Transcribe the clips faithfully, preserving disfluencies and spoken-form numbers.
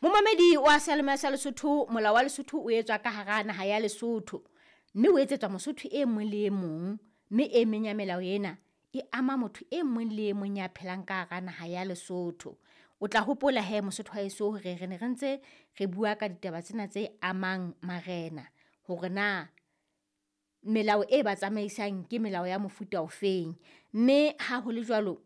Momamedi wa seyalemoya sa Lesotho, molao wa Lesotho o etswa ka hara naha ya Lesotho, mme o etsetswa Mosotho e mong le e mong, mme e meng ya melao ena e ama motho e mong le e mong ya phelang ka hara naha ya Lesotho. O tla hopola hee Mosotho wa heso hore re ne re ntse re bua ka ditaba tsena tse amang marena hore na melao e ba tsamaisang ke melao ya mofuta ofeng. Mme ha ho le jwalo,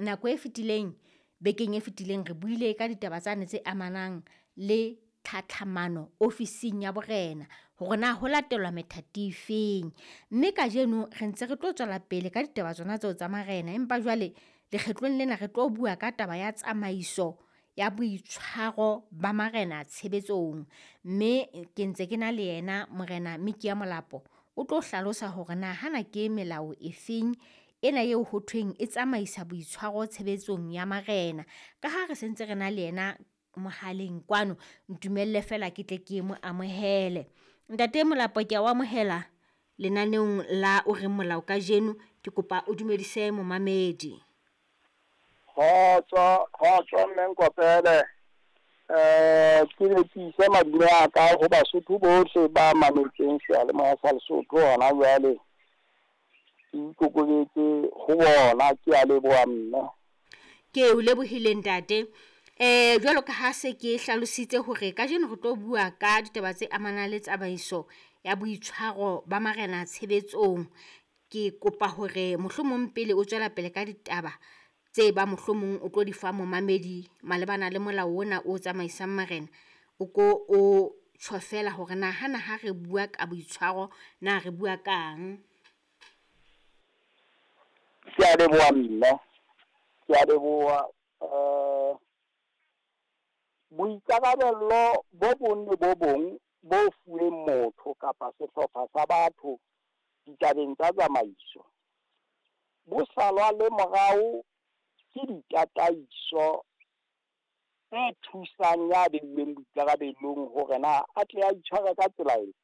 nako e fetileng bekeng e fetileng re buile ka ditaba tsane tse amanang le tlhatlhamano ofising ya borena hore na ho latelwa methati e feng. Mme kajeno re ntse re tlo tswela pele ka ditaba tsona tseo tsa marena, empa jwale lekgetlong lena re tlo bua ka taba ya tsamaiso ya boitshwaro ba marena tshebetsong. Mme ke ntse ke na le yena Morena Mikiya Molapo o tlo hlalosa hore na hana ke melao e feng ena eo ho thweng e tsamaisa boitshwaro tshebetsong ya marena. Ka ha re sentse re na le yena mohaleng kwano, ntumelle feela ke tle ke mo amohele. Ntate Molapo kea o amohela lenaneong la O Reng Molao Kajeno. Ke kopa o dumedise momamedi. Kgotso, kgotso mme Nkopele. Ke be ke ise madume a ka ho Basotho bohle ba mametseng seyalemoya sa Lesotho hona jwale. Ke ikokobetse ho bona, ke a leboha mme. Ke o lebohile ntate. Eh jwalo ka ha se ke hlalositse hore kajeno re tlo bua ka ditaba tse amanang le tsamaiso ya boitshwaro ba marena tshebetsong. Ke kopa hore mohlomong pele o tswela pele ka ditaba tse bang mohlomong o tlo di fa momamedi malebana le molao ona o tsamaisang marena, o ko o tjho feela hore na hana ha re bua ka boitshwaro na re bua kang. Ke a leboha mme, ke a leboha. Boikarabello bo bong le bo bong bo fuweng motho kapa sehlopha sa batho ditabeng tsa tsamaiso, bo salwa le morao ke ditataiso tse thusang ya beilweng boikarabelong hore na a tle a itshware ka tsela efe.